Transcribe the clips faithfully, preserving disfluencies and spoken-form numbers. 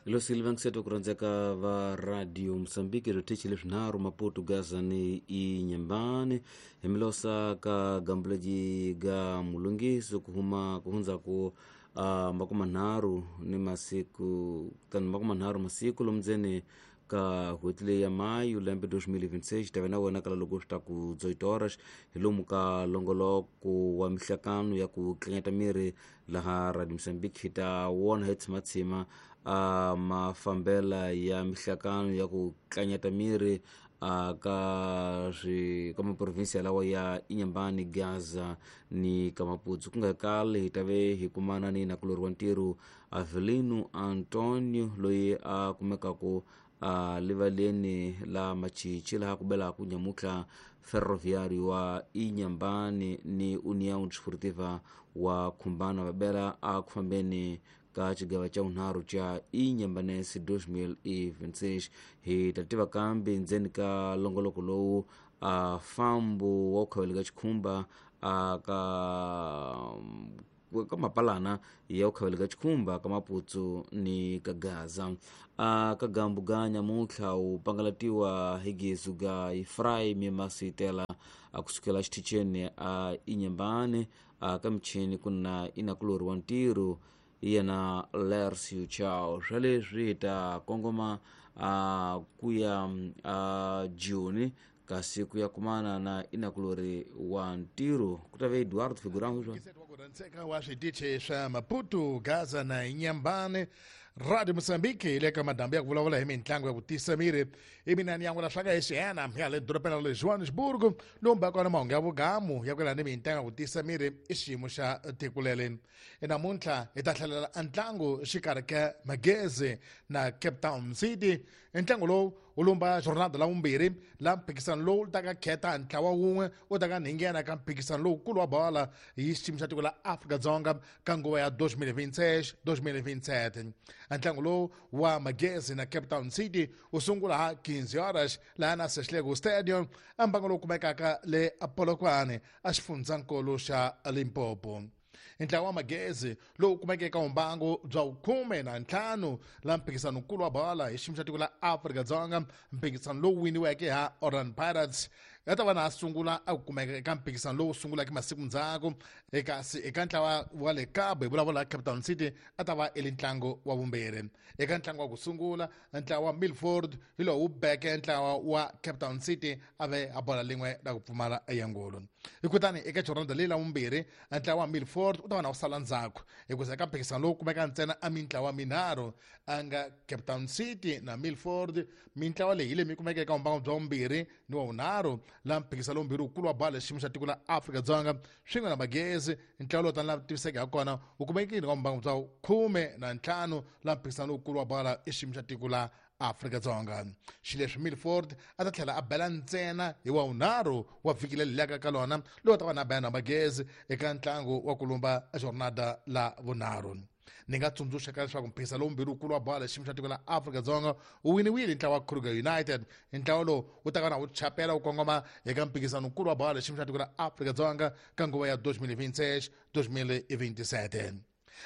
Ilo Silva nkiseto kuranzeka va Radio Mozambique rotichi leswinharhu Maputo Gaza ni Inhambane himilosa ka gambuleji ga mulungiso kuhuma kuhunza ku uh, makumi manharhu ni masiku tani makumi manharhu masiku lomdzeni ka n'hweti leyi ya mayu lembe dois mil e vinte e seis tave na wena kala loko swi ta ku dezoito horas hi lomu ka longoloko wa mihlakano ya ku tlanyata miri laha Radio Mozambique hi ta wona hi tshimatshima a mafambela ya mihlakano ya ku tlanyata miri a ka swi ka maprovinsia lawa ya Inhambane, Gaza ni ka Maputo. Ku nga kale hi tave hi kumana ni nakulori wa ntirho Avelino Antonio loyi a kumekaku a livaleni la Machichi laha ku belaka nyamutlha Ferroviário wa Inhambane ni União Desportiva wa Khumbana va bela a ku fambeni ka xigava xa vunharhu xa Inhambanense dois mil e vinte e seis. Hi ta tiva kambe ndzeni ka longoloko lowu a fambo wa ku khavela ka xikhumba a ka ka mapalana ya ku khavela ka xikhumba ka Maputo ni ka Gaza. A ka gambu ga nyamutlha wu pangalatiwa hi gezu ga Efraim Masitela a kusukela xiticheni a Inhambane a ka michini ku na inakulori wa ntirho yena Lercio Chao. Swa leswi hi ta kongoma a kuya a Juni kasi ku ya kumana na inakulori wa ntirho ku ta ve Eduardo Figurão swa wa wa switichi swa Maputo, Gaza na Inhambane. Radio Mozambique hi le ka madambu ya ku vulavula hi mitlangu ya ku tisa miri i mina ni yan'wela swa ka hi xiyena ya le dorobeni ra le Johannesburg lomu ba kona mahungu ya vugamu ya ku yelana ni mitlangu ya ku tisa miri i xiyimo xa tiko leri. Namuntlha hi ta hlalela ntlangu xikarhi ka Magezi na Cape Town City. Ntlangu lowu wu lumba jornada la vumbirhi la mphikisano lowu ta ka khetha ntlawa wun'we wu ta ka nghena ka mphikisano lowukulu wa bola hi xiyimo xa tiko la Afrika-Dzonga ka nguva ya dois mil e vinte e seis dois mil e vinte e sete. Ntlangu lowu wa Magezi na Cape Town City wu sungula ha quinze horas laha na Seshego Stadium ambango lowu kumekaka le Polokwane a xifundzankulu xa Limpopo. Ntlawa wa Magezi lowu kumeke eka mbangu bya khume na ntlhanu la mphikisano nkulu wa bola hi xiyimo xa tiko la Afrika-Dzonga, mphikisano lowu winiweke ha Orlando Pirates ya ta va na a sungula a ku kumeka eka mphikisano lowu sungulaka masiku ndzhaku. Kasi eka ntlawa wa le Cabo hi vulavula Cape Town City a ta va i le ntlangu wa vumbirhi. Eka ntlangu wa ku sungula ntlawa wa Milford hi lowu wu beke ntlawa wa Cape Town City a ve a bola lin'we ra ku pfumala eyangulu. Kutani eka jornada leyi la vumbirhi ntlawa wa Milford u ta va na wu sala ndzhaku hikuza eka mphikisano lowu kumeka ntsena a mintlawa minharhu a nga Cape Town City na Milford. Mintlawa leyi hi leyi mi kumeka eka mbangu bya vumbirhi ni wa vunharhu la mphikisano lowumbirhi wukulu wa bola xiyimo xa tiko la Afrika-Dzonga swin'we na Magezi. Ntlawa lowu tani la tiviseke ha kona wu kumekile ka mbangu bya khume na ntlhanu la mphikisano lowukulu wa bola i xiyimo xa tiko la Afrika-Dzonga. Xileswi Milford a ta tlhela a bela ntsena hi wa vunharhu wa vhiki leri laka ka lona lowu ta va na bela na Magezi eka ntlangu wa ku lumba jornada la vunharhu. Ni nga tsundzuxa ka leswaku mphikisano lowumbirhi wukulu wa bola xiyimo xa tiko la Afrika-Dzonga wu winiwile ntlawa wa Kruger United. Ntlawa lowu wu ta ka na wu chapela wu kongoma eka mphikisano wukulu wa bola xiyimo xa tiko la Afrika-Dzonga ka nguva ya dois mil e vinte e seis dois mil e vinte e sete.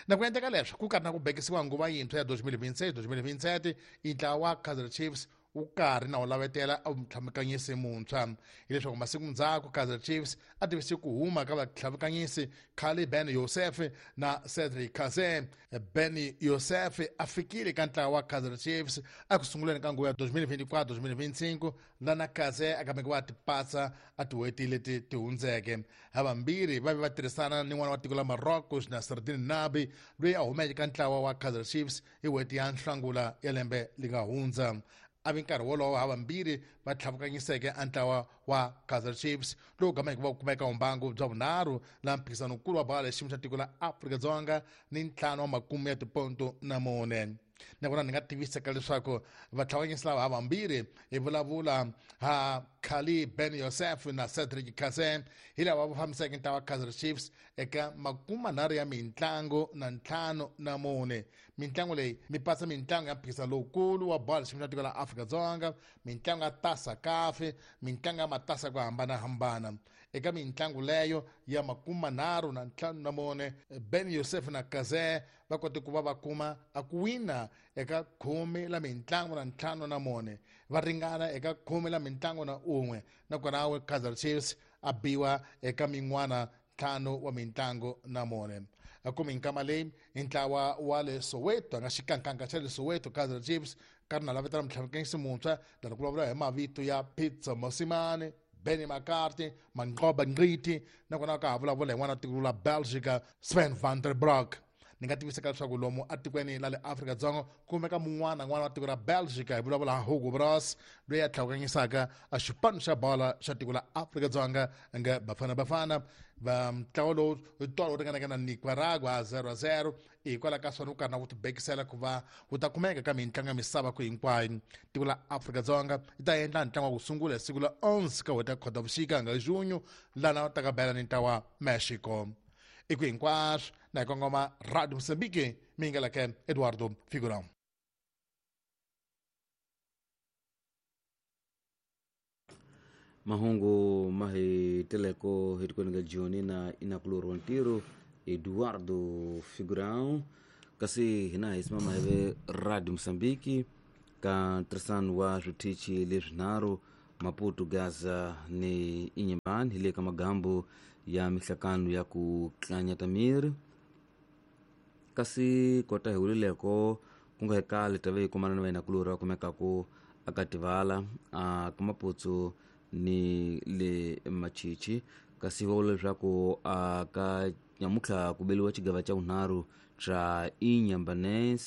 Na ku endleka leswi ku karhi na ku bekisiwa nguva yintshwa ya dois mil e vinte e seis dois mil e vinte e sete, ntlawa wa Kaizer Chiefs wu karhi na wu lavetela a mutlhamukanyisi muntshwa. Hileswaku masiku ndzhaku Kaizer Chiefs a tivise ku huma ka vatlhamukanyisi Khali Ben Youssef na Cedric Kaze. Ben Youssef a fikile ka ntlawa wa Kaizer Chiefs a ku sunguleni ka nguva ya dois mil e vinte e quatro dois mil e vinte e cinco lana Kaze a kameke wa tipatsa a tin'hweti leti ti hundzeke. Havambirhi va ve va tirhisana ni n'wana wa tiko la Morocco Nasreddine Nabi loyi a humeke ka ntlawa wa Kaizer Chiefs hi n'hweti ya Nhlangula ya lembe li nga hundza. A vi nkarhi wolowo havambirhi va tlhavukanyiseke a ntlawa wa Kaizer Chiefs lowu gameke va kumeka mbangu bya vunharhu la mphikisano wukulu wa bola xiyimo xa tiko la Afrika-Dzonga ni ntlhanu wa makume ya tiponto na mune. Nakona ni nga tiviseka leswaku vatlhavanyisi lava havambirhi hi vulavula ha Khali Ben Youssef na Cedric Kaze hi lava va fambiseke ntlawa wa Kaizer Chiefs eka makume manharhu ya mintlangu na ntlhanu na mune. Mintlangu leyi mi pasa mintlangu ya mphikisano lowukulu wa bola xiyimo xa tiko la Afrika-Dzonga, mintlangu ya tasa kafe, mintlangu ya matasa ku hambanahambana. Eka mintlangu leyo ya makume nharhu na ntlhanu na mune, Ben Youssef na Kaze va kote ku va va kuma a ku wina eka khume la mintlangu na ntlhanu na mune, va ringana eka khume la mintlangu na un'we, nakona Kaizer Chiefs a biwa eka min'wana ntlhanu wa mintlangu na mune. Kumi nkama leyi i ntlawa wa le Soweto, a nga xikankanka xa le Soweto Kaizer Chiefs karhi na lavetela mutlhavikisi muntshwa lani ku vulavula hi mavito ya Pitso Mosimane, Benny McCarthy, Manqoba Ngqiti, nakona ka ha vulavula hi n'wana tiko la Belgica Sven van der Broek. Ni nga tiviseka leswaku lomu atikweni la le Afrika-Dzonga kumeka mun'wana n'wana wa tiko ra Belgica, hi vulavula ha Hugo Broos loyi a tlhawukanyisaka a xipano xa bola xa tiko la Afrika-Dzonga nga Bafana Bafana. Va ntlawa lowu tolo wu ringanaka na Nicaragua zero zero, hikwalaho ka swona wu karhi na ku tibekisela ku va wu ta kumeka ka mitlangu ya misava ku hinkwayo. Tiko la Afrika-Dzonga yi ta endla ntlangu wa ku sungula hi siku la onze ka n'hweti ya Khotavuxika nga junho, lana va ta ka bela ni ntlawa Mexico. I ku hinkwaswo na hi kongoma Radio Mozambique, mi nga lake Eduardo Figurão. Mahungu ma hi teleko hi tikweni ka Joni na inakulori wa ntirho Eduardo Figurão. Kasi hina hi simama hi ve Radio Mozambique ka ntirhisano wa switichi leswinharhu Maputo, Gaza ni Inhambane, hi le ka magambo ya mihlakano ya ku tlanyata miri. Kasi kota hi wulileko ku nga hekali tave hi kumana na vainakulori va kumekaku aka Tivala a ka Maputsu ni le Machichi. Kasi va vula leswaku a ka nyamutlha ku beliwa xigava xa vunharhu xa Inhambane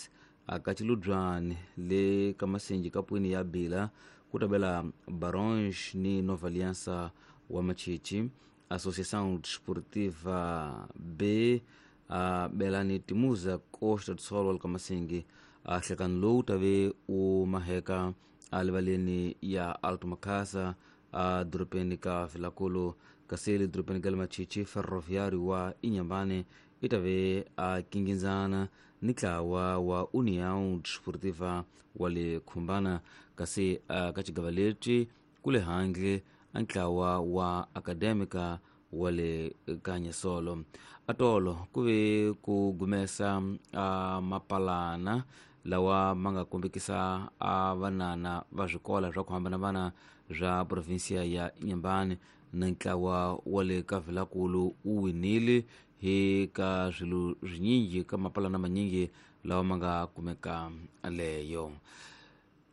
aka Chiludzwani le ka Masenji kapwini ya Bila ku tabela Baronge ni Nova Aliança wa Machichi. Associação Desportiva B a belani Timuza Costa do Sol wa ka Masengi. A hlekani lowu tave u maheka a livaleni ya Alto Makhasa a dorobeni ka Vilankulu. Kasi le dorobeni ka le Machichi, Ferroviário wa Inhambane i tave a kingindzana ni ntlawa wa União Desportiva wa le Khumbana. Kasi ka xigava lexi ku le handle a ntlawa wa Acadêmica wa le Kanyasolo. Atolo ku ve ku gumesa a mapalana lawa ma nga kombekisa a vanana va swikola swa ku hambanahambana swa provinsia ya Inhambane na ntlawa wa le ka Vilankulu wu winile hi ka swilo swinyingi ka mapalana manyingi lawa ma nga kumeka leyo.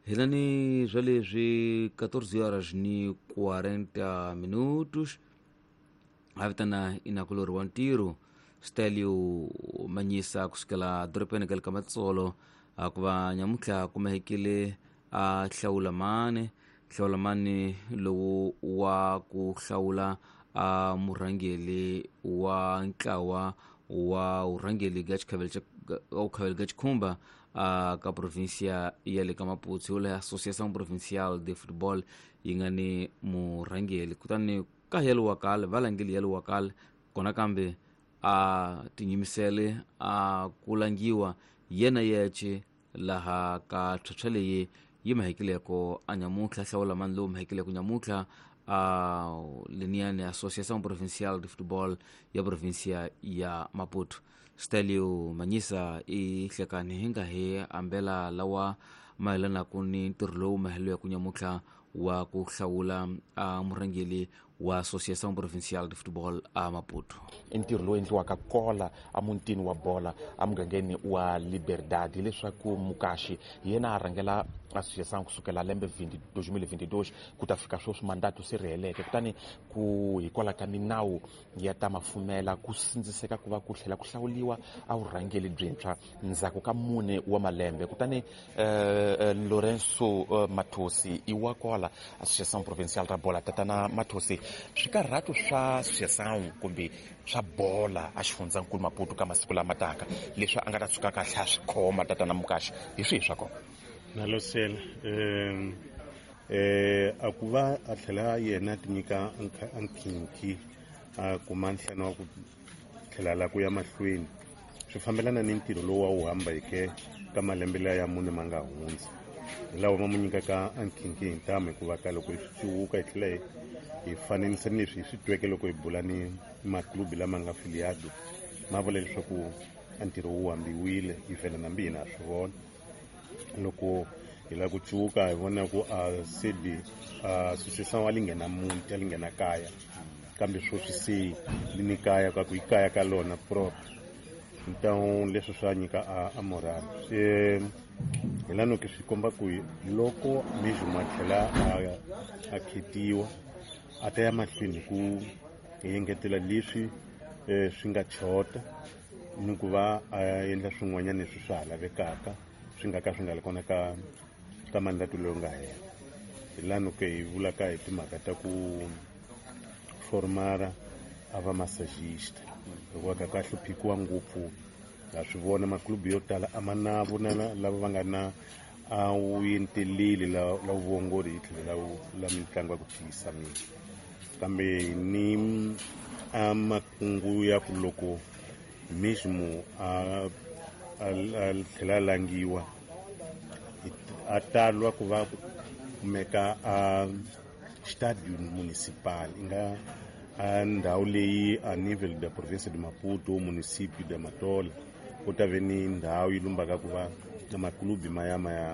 Hina ni swa leswi quatorze horas ni quarenta minutos a vitana inakulori wa ntirho Stelio Manyisa kusukela dorobeni ka le ka Matsolo ku va nyamutlha kumehekile a hlawula mane hlawula mane lowu wa ku hlawula a murhangeli wa ntlawa wa vurhangeli ga xikhavelo xa ukhavelo ga xikhumba a ka provinsia ya le ka Maputo le Associação Provincial de Futebol yi nga ni murhangeli. Kutani ka yelo wa kale va langeli yelo wa kale kona kambe a tinyimisele a ku langiwa yena yexe laha ka tlhatlha leyi yi mahekileko a nyamutlha hlawula mani lowu mahekileko nyamutlha a leniyani Associação Provincial de Futebol ya provinsia ya Maputo. Stelio Manyisa i hlekani hi nga hi ambela lawa mayelanaku ni ntirho lowu mahelo ya ku nyamutlha wa ku hlawula a murhangeli wa Associação Provincial de Futebol a Maputo. I ntirho lowu endliwaka kola emutini wa bola emugangeni wa Liberdade, hileswaku Mukashi hi yena a rhangela associação kusukela lembe dois mil e vinte e dois ku ta fika sweswi mandato se ri heleke. Kutani ku hikwalaho ka minawu ya ta mafumela ku sindziseka ku va ku tlhela ku hlawuliwa a vurhangeli byintshwa ndzhaku ka mune wa malembe. Kutani eh, Lorenzo eh, Mathosi i wa kola Associação Provincial ra Bola. Tatana Mathosi, swikarhato swa associação kumbe swa bola a xifundzankulu Maputo ka masiku lama taka leswi a nga ta tshuka kahle a swi khoma tatana Mukashi hi swihi swa kona? Nalosela eh eh a ku va a tlhela yena ti nyika nkhinkhi a kuma nhlana wa ku tlhela la ku ya mahlweni swi fambelana ni ntirho lowu wa wu hambeke ka malembe laya ya mune ma nga hundza. Hi lawa ma mu nyikaka a nkhinkhi hi ntamu hikuva ka loko hi swi cuwuka hi tlhela hi hi fananisa ni leswi hi swi tweke loko hi bula ni maklubi lama nga filiado ma vula leswaku a ntirho wu hambiwile hi vhela nambi hina ha swi vona loko hi lava ku cuwuka hi vona ku a sedi a association a li nghena muti a li nghena kaya kambe sweswi se li ni kaya ka ku i kaya ka lona proper então leswi swa nyika a, a moral se hi la noke swi komba ku loko mesmo a tlhela a, a khetiwa a ta ya mahlweni hi ku engetela leswi eh, swi nga chota ni ku va a endla swin'wanyana leswi swa ha lavekaka swi nga ka swi nga ri kona ka ka mandato lowu nga hela hi la noke hi vulaka hi timhaka ta ku formara a va massagista hikuva ka ka hluphikiwa ngopfu ha swi vona maklubu yo tala a ma na vona lava va nga na a wu enteleli la la vuongori hi tlhelo la la mitlangu ya ku tiyisa miri kambe ni a makungu ya ku loko mesmo a a a tlhela a langiwa a talwa ku va kumeka a estádio municipal i nga a ndhawu leyi a nível da província de Maputo ou município de Matola ku ta ve ni ndhawu yi lumbaka ku va na maklubi ma ya ma ya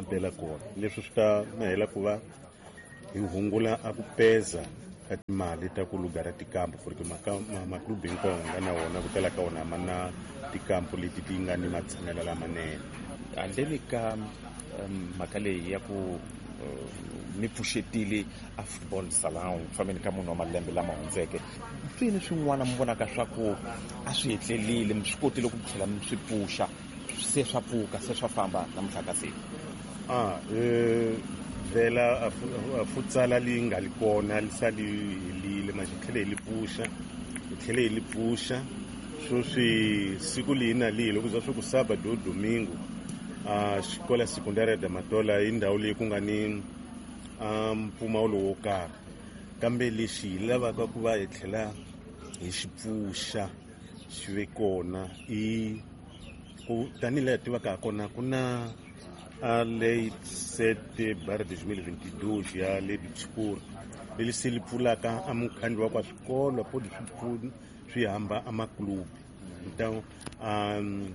bela kona leswi swi ta hela ku va hi hungula a ku peza ka timali ta ku lugara tikampu porque maklubi hinkwawo nga na wona ku tala ka wona ma na tikampu leti ti nga ni matshamelo lamanene handleni ka mhaka leyi ya ku mi pfuxetile a football salon ku fambeni ka munhu wa malembe lama hundzeke mpfini swin'wana mi vonaka swa ku a swi hetlelile mi swi kotile ku tlhela mi swi pfuxa se swa pfuka se swa famba namuntlha ka siku a vhela a futsala li nga li kona li sa li helile manje hi tlhele hi li pfuxa hi tlhele hi li pfuxa sweswi siku lihi na lihi loko za swi ku sábado ou domingo a xikola secundária da Matola i ndhawu leyi ku nga ni a mpfumawulo wo karhi kambe lexi hi lavaka ku va hi tlhela hi xi pfuxa xi ve kona i ku tanihi laha hi tivaka ha kona ku na a lei sete barra dois mil e vinte e dois ya lei do desporto leri se li pfulaka a mukhandlu wa kwa swikolo pode swi swi hamba a maklubi então um,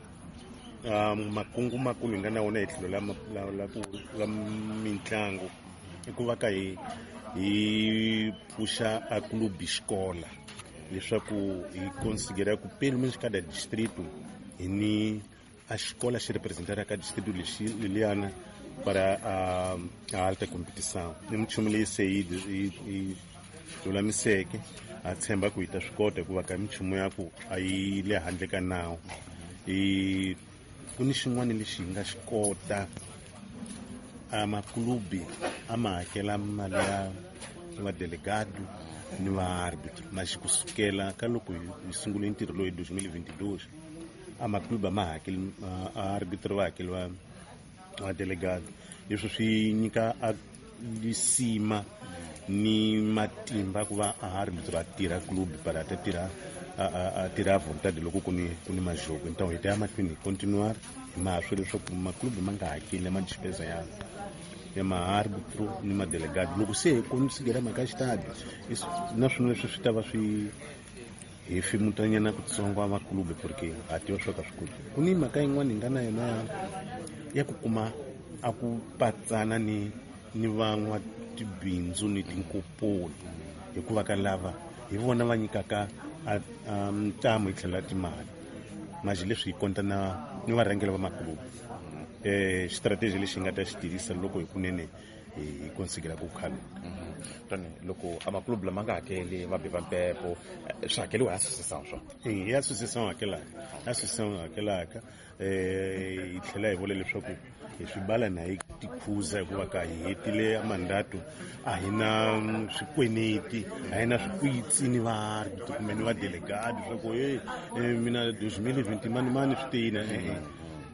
um, makungu makulu hi nga na wona hi tlhelo la, la, la, la mitlangu i ku va ka hi hi pfuxa a clube escola leswaku hi considera ku pelo menos cada distrito hi ni a escola xi representaraka ka distrito lexi leliyana para a, a alta competição i minchumu leyi se yi yi lulamiseke ha tshemba ku hi ta swi kota hikuva ka minchumu ya ku a yi le handle ka nawu i ku ni xin'wana lexi hi nga xi kota a maklubi a ma hakela mali ya vadelegado ni vaarbitro maxi kusukela ka loko hi sungule ntirho lowu hi dois mil e vinte e dois a maklubi a ma hakeli a arbitro va hakeli va vadelegado leswi swi nyika a lisima ni matimba ku va a arbitro a tirha club para a ta tirha a tirha a vontade loko ku ni ku ni majogo então hi ta ya mahlweni hi continuar hi mahaswo leswaku maklubi ma nga hakeli ma despesa ya ya maarbitro ni madelegado loko se hi considera mhaka ya xitadi na swona leswi swi ta va swi hi fimutanyana kutsongo a maklubi porque ha tiva swo ka swi koti ku ni mhaka yin'wana hi nga na yona ya ya ku kuma a ku patsana ni ni van'watibindzu ni tinkoponi hikuva ka lava hi vona va nyikaka a ntamu hi tlhelo ra timali manje leswi hi konta na ni varhangeri va maklubi eh strategy lexi hi nga ta xi tirhisa loko hi kunene hi considera ku khaluka tani loko a maklubu lama nga hakeli va be va mpepo swi hakeliwa hi association swa e hi association hakelaka association hakelaka eh hi tlhela hi vula leswaku hi swi bala na hi tikhuza hikuva ka hi hetile mandato a hi na swikweneti a hi na swikwitsi ni vaarbitro kumbe ni vadelegado swa ku e mina dois mil e vinte mani mani swi teyina e-e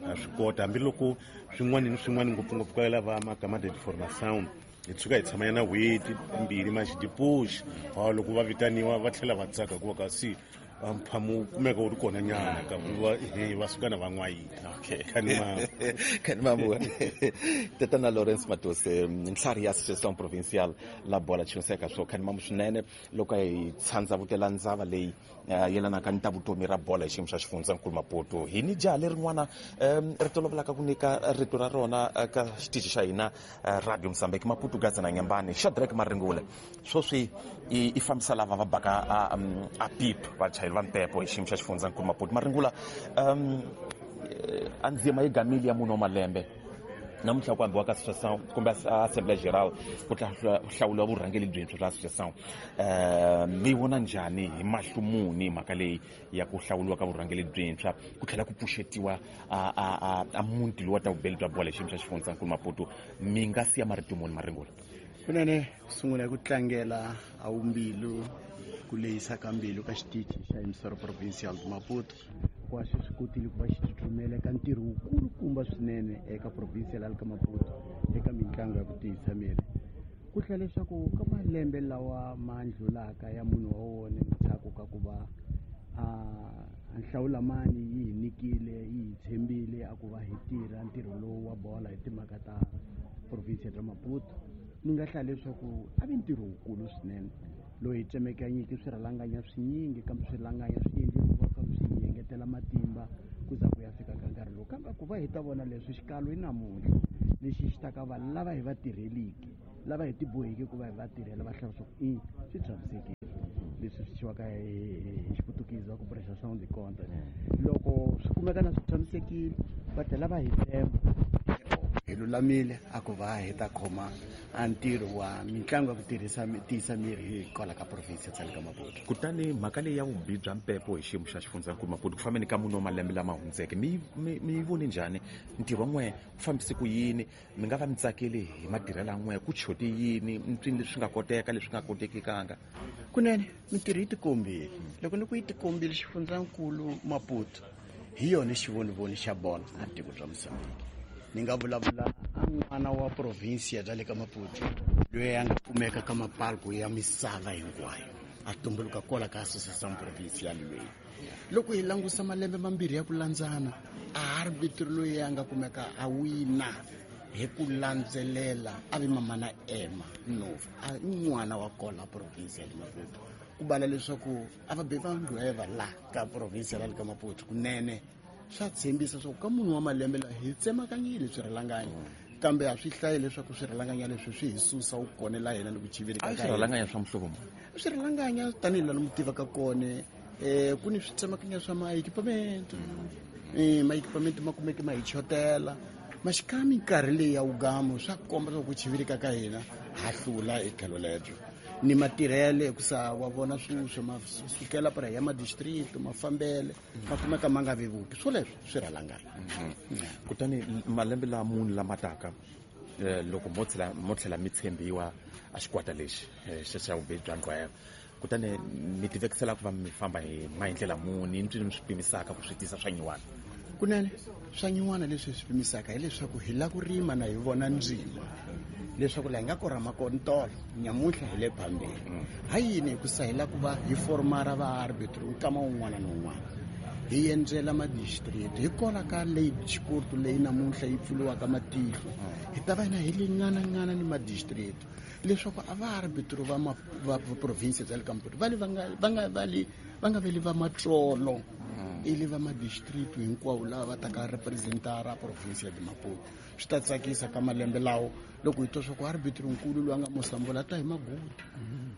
ha swi kota hambiloko swin'wana ni swin'wana ngopfungopfu ka lava magama de formação hi tshuka hi tshama yana n'hweti mbirhi maxi depois loko va vitaniwa va tlhela va tsaka hikuva kasi mphamu kumeka wu ri kona nyana ka va suka na va n'wayita. Okay, kanimamu tatana Lawrence Matose ntlhari ya Association Provincial la bola chinseka swo kanimamu swinene loko hi tshandza vutela ndzava leyi yelanaka ni ta vutomi ra bola hi xiyimo xa xifundzankulu Maputo. Hi ni jaha lerin'wana ri tolovelaka ku nyika rito ra rona ka xitichi xa hina Radio Mozambique Maputo Gaza na Nyambane Shadrack Maringule sweswi i fambisa lava va baka a pip vachayeri va mpepo hi xiyimo xa xifundzankulu Maputo. Maringula, um a ndzima yi gamile ya munhu wa malembe namuntlha ku ambiwa ka association kumbe assemblée générale ku hlawuriwa vurhangeri byintshwa bya association. Um mi vona njhani hi mahlo muni mhaka leyi ya ku hlawuriwa ka vurhangeri byintshwa ku tlhela ku pfuxetiwa a a muti lowu wa ta vubeli bya bola hi xiyimo xa xifundzankulu Maputo? Mi nga siya marito muni, Maringula? Kunene ku sungula hi ku tlangela a wumbilu ku lehisa ka mbilu ka xitichi xa Emissora Provincial de Maputo ku swi swi kotile ku va xi tsutsumela eka ntirho wukulukumba swinene eka provincial ya le ka Maputo eka mitlangu ya ku tiyisa miri. Ku tlhela leswaku ka malembe lawa ma ndlulaka ya munhu wa wona ndzhaku ka ku va a nhlawulamani yi hi nyikile yi hi tshembile a ku va hi tirha ntirho lowu wa bola hi timhaka ta provincial ya Maputo, ni nga hlaya leswaku a vi ntirho wukulu swinene lowu hi tsemekanyiki swirhalanganya swinyingi kambe swirhalanganya swi endlile ku va swi hi engetela matimba ku za ku ya fika ka nkarhi lowu. Kambe ku va hi ta vona leswi xikalo i namuntlha lexi xi ta ka vanhu lava hi va tirheliki lava hi tiboheke ku va hi va tirhela va hlaya leswaku i swi tshamisekile leswi swi thyiwaka hi xiputukezi va ku prestação de contas. Loko swi kumeka na swi tshamisekile va tlhela va hi tshemba hi lulamile a ku va hi ta khoma a ntirho wa mitlangu ya ku tirhisa tiyisa miri hi kwala ka province ya le ka Maputo. Kutani mhaka leyi ya vubihi bya mpepo hi xiyimo xa xifundzankulu Maputo ku fambeni ka munhu wa malembe lama hundzeke mi mi yi vone njhani? Ntirho wa n'we wu fambise ku yini? Mi nga va mi tsakeli hi matirhelo ya n'we? Ku chote yini? Mpfini leswi nga koteka leswi nga kotekikanga? Kunene mintirho yi tikombile. Loko ni ku yi tikombile xifundzankulu Maputo hi yona xivonivoni xa bola a tiko bya Mozambique. Ni nga vulavula a n'wana wa provinsia bya le ka Maputo loyi a nga kumeka ka mapalko ya misava hinkwayo a tumbuluka kwala ka Association Provincial loyi. Loko hi langusa malembe mambirhi ya ku landzana a arbitro loyi a nga kumeka a wina hi ku landzelela a vi mamana Emma Nova a n'wana wa kola provinsia ya le Maputo. Ku bala leswaku a va be va ndlweva la ka provinsia ya le ka Maputo kunene swa tshembisa swa ku ka munhu wa malembe lawa hi tsemakanyile swirhalanganya kambe a swi hlayi leswaku swirhalanganya leswi swi hi susa wu kone la hina ni ku chivirika ka swirhalanganya swa muhlovo muni? Swirhalanganya tanihi laha mu tivaka kone um ku ni switsemakanya swa ma-equipment um ma-equipment ma kumeke ma hi chotela maxika minkarhi leyi ya wugamo swa komba swa ku chivirika ka hina ha hlula hi tlhelo lebyo ni matirhele hikusa wa vona swuswo ma sukela para ya madistrict mafambele ma kumeka ma nga vevuki swoleswo swi rhalangana. Kutani malembe la muni lama taka loko mo tlhela mo tlhela mi tshembiwa a xikwata lexi xa xa vubihi bya nqwaya kutani mi tivekisela ku va mi famba hi maendlela muni ni mi swi pimisaka ku swi tisa swa nyiwana? Kunene swa nyiwana leswi hi swi pimisaka hileswaku hi lava ku rima na hi vona ndzima leswaku laha hi nga korhama kona tolo nyamuntlha hi le phambeni. Ha yini? Hikusa hi lava ku va hi formara va arbitro nkama wun'wana na wun'wana hi endzela madistrict hi kona ka leyi xiporto leyi namuntlha yi pfuriwaka matihlo hi ta va hina hi le nganangana ni madistrict leswaku a va arbitro va va province bya le ka Maputo va le va nga va nga va le va nga veli va matsolo i le va madistrict hinkwawo lava va taka representara province ya Maputo. Swi ta tsakisa ka malembe lawo loko hi twa swa ku arbitro nkulu loyi a nga Mosambola a ta hi Maguti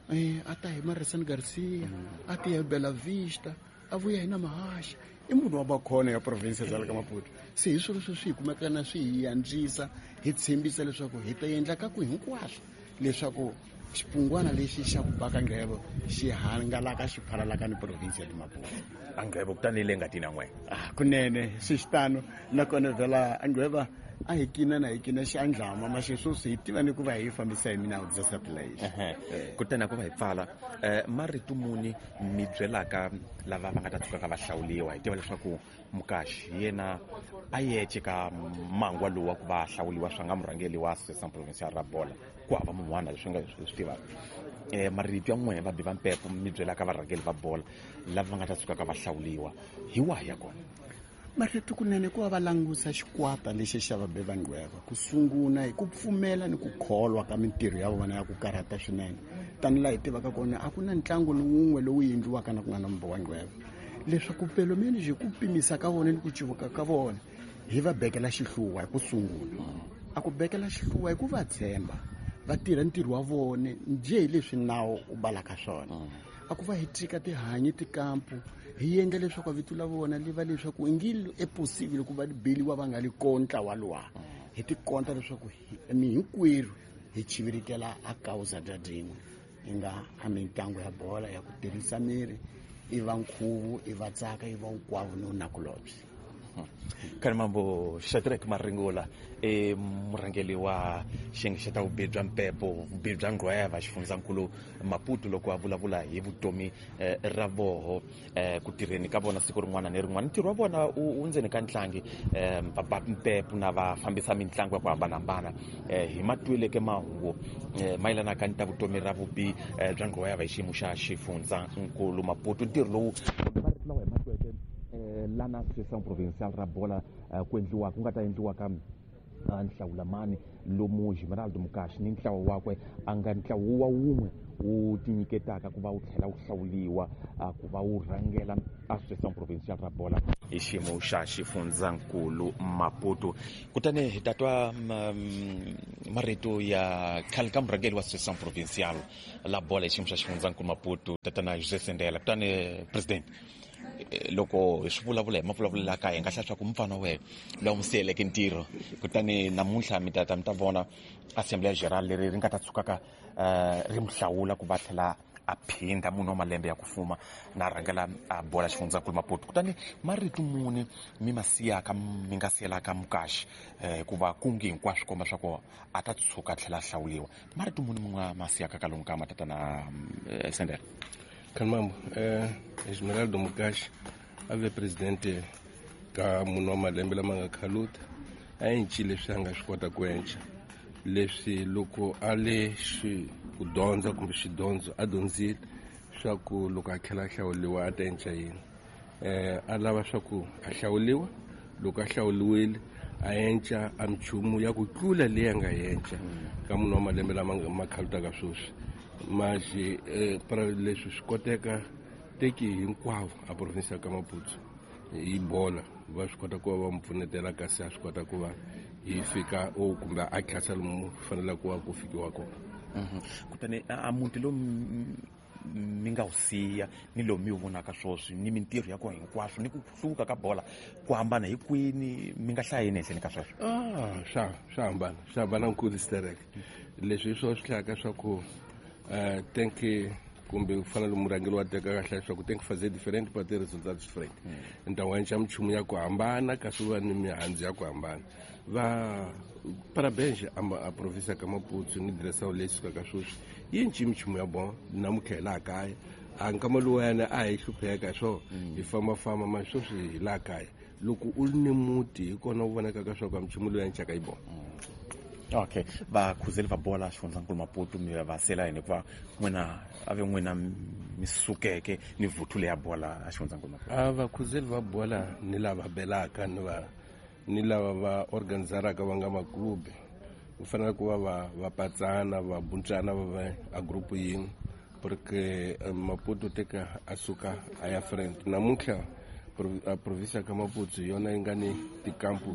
eh a ta hi Marisan Garcia a ta hi Bela Vista a vuya hi na Mahasha i munhu wa makhona ya province ya le ka Maputo. Se hi swilo sweswi hi kumeka na swi hi antswisa hi tshembisa leswaku hi ta endla ka ku hinkwaswo leswaku xipungwana lexi xa ku baka nghevo xi hangalaka xi phalalaka ni province ya Maputo. A nghevo kutani le ngatini ya n'wina? Ah, kunene swi xitano nakona vhela a ngweva A hi kina na hi kina xandlama ma sweswi hi tiva ni ku va hi fambisa hi minawu bya satellite. Kutani a ku va hi pfala marito muni mi byelaka lava va nga ta tshuka ka va hlawuliwa hi tiva leswaku Mukashi hi yena a yece ka mangwa lowu wa ku va hlawuliwa swa nga murhangeri wa Association Provincial ra bola ku hava mun'wana leswi nga swi tivaka eh marito ya n'we va bi va mpepo mi byelaka varhangeri va bola lava va nga ta tshuka ka va hlawuliwa hi wahi ya kona? Marito kunene ku va va langusa xikwata lexi xa vabi va ngqweva ku sungula hi ku pfumela ni ku kholwa ka mintirho ya vona ya ku karhata swinene tani laha hi tivaka kona a ku na ntlangu ni wun'we lowu endliwaka na ku nga na mbo wa ngqweva leswaku pelo menos hi ku pimisa ka vona ni ku civuka ka vona hi va bekela xihluva hi ku sungula a ku bekela xihluva hi ku va tshemba va tirha ntirho wa vona njhe hi leswi nawu u balaka swona a ku va hi tika tihanyi tikampu hi endla leswaku vito la vona li va leswaku ngi e possible ku va li beliwa va nga li kontla wa luwa hi tikonta leswaku mi hinkwerhu hi chivirikela a causa dya din'we hi nga a mitlangu ya bola ya ku tirhisa miri i va nkhuvu i va tsaka i va nkwavu ni nakulobye. Khalimambo Shadrack Maringula e murhangeri wa xiyenge xa ta vubihi bya mpepo vubihi bya ngqweva xifundzankulu Maputo loko a vulavula hi vutomi ra voho ku tirheni ka vona siku rin'wana ni rin'wana ntirho wa vona wu ndzeni ka ntlangi va ba mpepo na va fambisa mitlangu ya ku hambanahambana hi matweleke mahungu mayelanaka ni ta vutomi ra vubihi bya ngqweva hi xiyimo xa xifundzankulu Maputo ntirho lowu kumbe marito lawa hi matweke lana Association Provincial ra bola ku endliwa ku nga ta endliwa ka nhlawulamani lomu Esmeraldo Mukashi ni ntlawa wakwe a nga ntlawa wa wun'we wu tinyiketaka ku va wu tlhela wu hlawuliwa ku va wu rhangela Association Provincial ra bola hi xiyimo xa xifundzankulu Maputo. Kutani hi ta twa marito ya khale ka murhangeri wa Association Provincial la bola hi xiyimo xa xifundzankulu Maputo tatana José Sendela. Kutani president loko hi swi vulavula hi mavulavulelo ya ka hi nga hlaya swa ku mufana wa wena lowu n'wi siyeleke ntirho kutani namuntlha mi ta ta mi ta vona Assembly General leri ri nga ta tshukaka ri mi hlawula ku va tlhela a phinda munhu wa malembe ya ku fuma na rhangela a bola xifundzankulu Maputo. Kutani marito muni mi ma siyaka mi nga siyelaka Mukashi hikuva kungi hinkwaswo komba swa ku a ta tshuka a tlhela a hlawuliwa marito muni mi nga ma siyaka ka lomu ka matatana Sendela? Khalimambo eh Esmeraldo Mukashi a ve presidente ka munhu wa malembe lama nga khaluta a encile leswi a nga swi kota ku enca leswi loko a le xi ku dyondza kumbe xidyondzo a dyondzile swa ku loko a tlhela a hlawuliwa a ta enca yini eh a lava swa ku a hlawuliwa loko a hlawuliwile a enca a minchumu ya ku tlula leyi a nga enca ka munhu wa malembe lama ma khalutaka sweswi mas eh, para leswi swi koteka teki hinkwavo a province ya ka Maputo hi bola va swi kota ku va va mu pfunetela kasi a swi kota ku va hi fika o kumbe a tlhasa lomu faneleke ku va ku fikiwa kona. Kutani a muti lowu mi nga wu siya ni lowu mi wu vonaka sweswi ni mintirho ya kona hinkwaswo ni ku hluvuka ka bola ku hambana hi kwini mi nga hlaya yini ehenhleni ka sweswo? Ah, swa swa hambana swa hambana nkulu sterek leswi hi swona swi hlayaka swa ku Uh, tem que kumbe ku fana murhangeri wa teka kahle leswaku tem que fazer diferente para ter resultados diferentes. Então a gente minchumu ya ku hambana kasi va ni mihandzu ya ku hambana va parabéns a, a província ka Maputo ni direção leyi sukaka sweswi yi enci minchumu ya bon namuntlha hi laha kaya a nkama luwayana a hi hlupheka swo hi fambafamba ma sweswi hi laha kaya loko u ri ni muti hi kona u vonakaka swa ku minchumu loyi encaka yi bon. Okay vakhuzeli va bola xifundzankulu Maputo mi va sela yini hikuva n'wina a ve n'wina mi sukeke ni vuthu leya bola a xifundzankulu Maputo? A vakhuzeli va bola ni lava belaka ni va ni lava va organizaraka va nga maklubi ku fanele ku va va va patsana va buntsana va va a group yin'we porque Maputo teka a suka a ya front namuntlha a province ka Maputo hi yona yi nga ni tikampu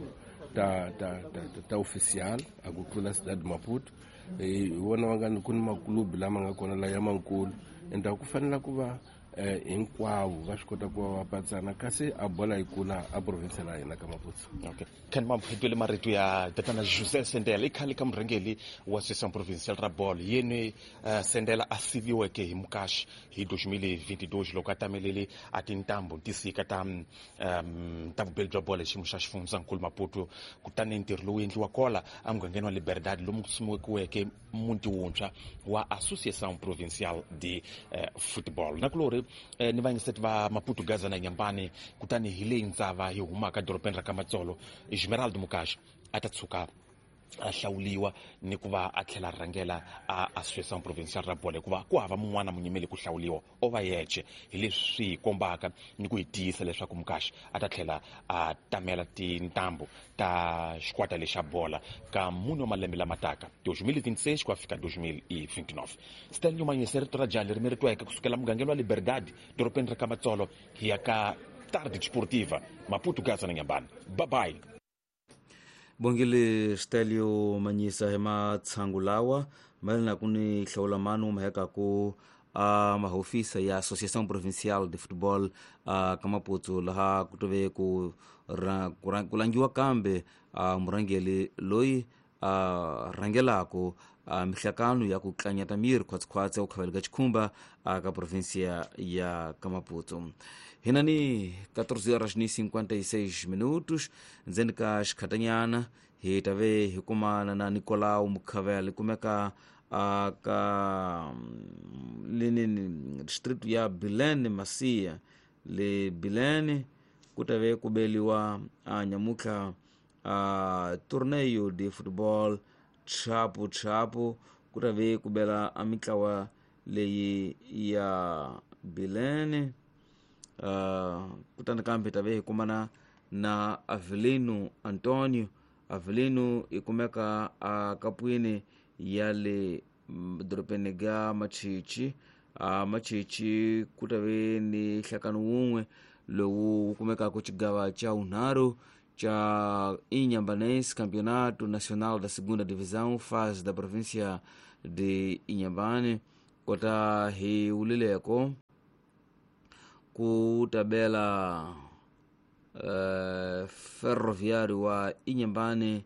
ta ta ta ta oficial a ku tlula Cidade Maputo hi vona va nga ni ku ni maklubi lama nga kona la ya mankulu ende ku fanela ku va eh hinkwavo va swi kota ku va va patsana kasi a bola yi kula a province la hina ka Maputo. Okay, kan ma mphetwele marito ya tatana José Sendela i khale ka murhangeri wa Association Provincial ra bolo yeni uh, Sendela a siviweke hi Mukashi hi twenty twenty-two loko a tamelele a tintambu tisika ta um, ta vubeli bya bolo hi xiyimo xa xifundzankulu Maputo. Kutani ntirho lowu endliwa kola emugangeni wa Liberdade lomu ku simekiweke muti wuntshwa wa Associação Provincial de uh, Futebol. Nakulori eh, ni vayingiseti va Maputo Gaza na Nyambane, kutani hi leyi ndzava hi humaka dorobeni ra ka Matsolo, Esmeraldo Mukashi a ta tshuka a hlawuliwa ni ku va a tlhela a rhangela a Associação Provincial ra bolo, hikuva ku hava mun'wana munyimeli ku hlawuliwa o va yexe. Hi leswi swi hi kombaka ni ku hi tiyisa leswaku Mukashi a ta tlhela a tamela tintambu ta xikwata lexa bola ka mune wa malembe lama taka twenty twenty-six ku ya fika twenty twenty-nine. Stanley Manyese, rito ra jali ri mi ri tweke kusukela mugangeni wa Liberdade dorobeni ra ka Matsolo hi ya ka Tarde Desportiva, Maputo Gaza na Nyambane. Bye bye. Bongile Stelio Manyisa hi matshangu lawa mayelana ku ni hlawula manu maheka ku a mahofisa ya Associação Provincial de Futebol a ka Maputo laha ku tove ku ku langiwa kambe a murhangeri loyi a rhangelaku a mihlakano ya ku tlanyata miri khwatsikhwatsi ya ku khavela ka xikhumba a ka provinsia ya ka Maputo. Hina ni quatorze horas ni cinquenta e seis minutos ndzeni ka xikhatanyana hi ta ve hi kumana na Nicolau Mukhavela kumeka a ka lenini distrito ya Bilene Masia le Bilene ku ta ve ku beliwa a nyamutlha a torneio de futebol chapo chapo ku ta ve ku bela a mitlawa leyi ya Bilene. Uh, kutani kambe ta ve hi kumana na Avelino Antonio. Avelino i kumeka a kapwini ya le dorobeni ga Machichi. A Machichi ku ta ve ni nhlakano wun'we lowu wu kumekaka xigava xa vunharhu xa Inhambane Campeonato Nacional da Segunda Divisão fase da província de Inhambane. Kota hi wulileko ku tabela uh, Ferroviário wa Inhambane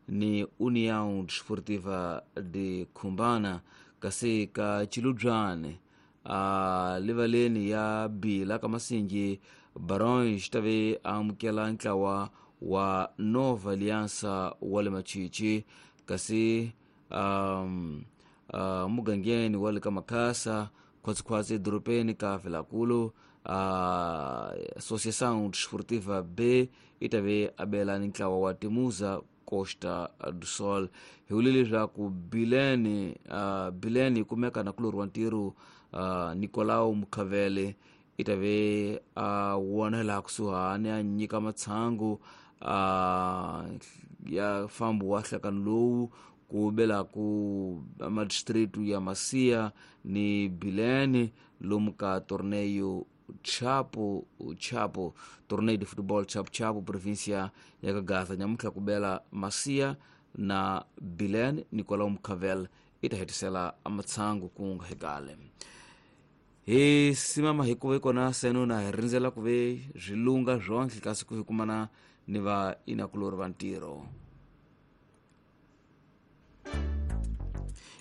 ni União Desportiva de Cumbana kasi ka Chiludzwane a livaleni ya Bila ka Masinji Barões tave amukela ntlawa wa Nova Aliança wa le Machichi kasi um, uh, mugangeni wa le ka Makhasa khwatsikhwatsi edorobeni ka Vilankulu. A Associação Desportiva B i ta ve abela ni ntlawa wa Temuza Costa do Sol. Hi vule leswaku Bilene uh, Bilene yi kumeka na kulorhi wa ntirho uh, Nicolau Mukhavele i ta ve a wona laha kusuhani a nyika matshangu uh, ya fambo wa nhlakano lowu ku bela ku madistritu ya Masia ni Bilene lomu ka torneio Chapo Chapo torneio de futebol Chapo Chapo província ya ka Gaza nyamutlha ku bela Masia na Bilene. Nicolau Mukhavel i ta hetisela matshangu ku nga hekale. Hi simama hi ku ve kona seno na hi rindzela ku ve swilunga swonhle kasi ku hi kumana ni va inakulori va ntirho.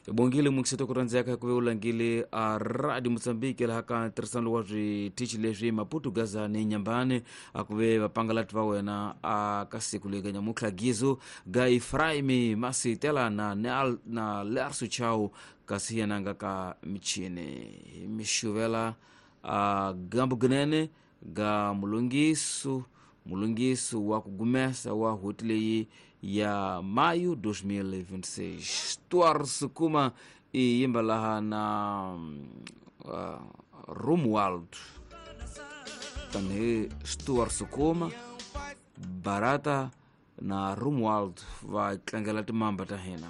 Bongile mukisito ku rhandzeka ku ve u langile a Radio Mozambique laha ka ntirhisano wa switichi leswi Maputo Gaza ni Nyambane a ku ve vapangalati va wena a ka siku lega nyamutlha Gizo ga Efraimi Masitela na na Lerso Chau kasi yena nga ka michini mixuvela a gambu gnene ga mulungisu mulungisu wa ku gumesa wa hoti leyi ya maio dois mil e vinte e seis. Stuart Sukuma i yimba laha na uh, Romualdo. Tanihi Stuart Sukuma Barata na Romualdo va tlangela timamba ta hina.